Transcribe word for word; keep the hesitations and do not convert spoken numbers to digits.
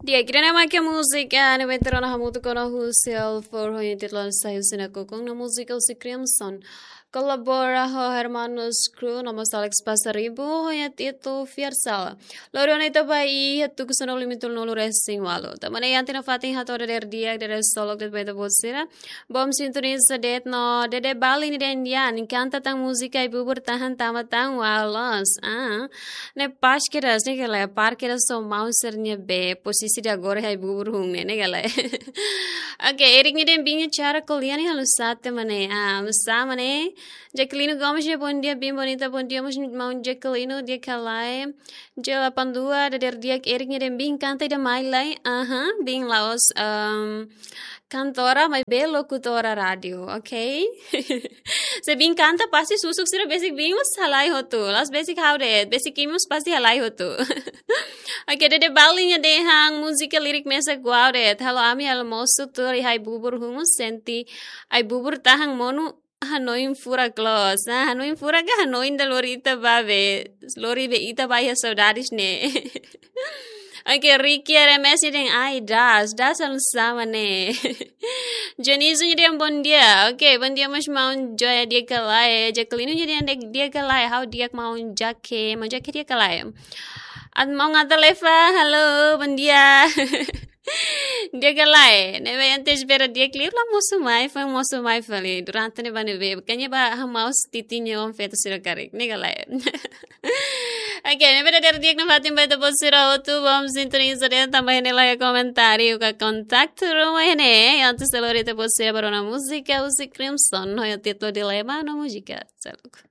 Di'ak, ida-ne'e mak múzika ne'ebé ita rona hamutuk ona husi álbum foho nia títulu Sai Husi Nakukun, no múzika husi Crimson. Kolabora ho Hermanos Crew, no mós Alex Pasaribu, ho nia títulu Fiar Sala. Lori ona ita ba iha tuku sanulu-resin-walu. Tanba ne'e iha ita-nia fatin hato'o dadeer di'ak, dadeer solok de'it ba ita-boot sira. Bom sintoniza de'it no Dede Balin nia dehan, kanta tan múzika Ai-bubur tahan tama tan walas. Ah, ne'e pas kedas, ne'e ka lae, pas kedas ho maun sira-nia be, posisi ida agora Ai-bubur hun ne'e, ne'e ka lae. Oke, Eric nia dehan biin nia cara ko'alia ne'e halo sá ida-ne'e. Ah, sá ida-ne'e. Jacqueline Gomes nia bom dia, biin bonita, bom dia, maun Jacqueline, di'ak ka lae. J delapan dua, dadeer di'ak, Eric nia dehan biin kanta ida mai lai. Aha, biin la'ós, ehm, kantora, maibé lokutora rádiu, oke? Se biin kanta pasti susuk sira besik biin mós halai hotu. La'ós besik ha'u de'it, besik imi mós pasti halai hotu. Oke, Dede Balin nia dehan múzika lirik mesak uau de'it. Halo ami almosu tuur iha Ai-bubur hun, sente Ai-bubur tahan monu, hanoin furak loos. Ah, hanoin furak ka hanoin ida lori ita ba be. Lori be ita ba iha saudades ne'e. Oke, Ricky R M S nia dehan ai das, das halo sá ida-ne'e. Dionisio nia dehan bom dia. Oke, bom dia maun Joya, di'ak ka lae. Jacqueline nia dehan di'ak, di'ak ka lae. Ha'u di'ak maun Jake, maun Jake di'ak ka lae. At maun Ata Leva, halo, bom dia. Di'ak ka lae, ne'ebé ente espera di'ak liu la mosu mai, foin mosu mai fali. Durante ne'ebá ne'ebé, kanya ba hamaus titinho on feto sira karik, ne'e ka lae. Oke, ne'ebé dadeer di'ak nafatin ba ita-boot sira hotu, bom sintoniza de'it, tanba iha ne'e la iha komentáriu ka kontaktu ruma iha ne'e, antes de lori ita-boot sira ba rona múzika husi Crimson, ho nia títulu Dilema no múzika. Seluk.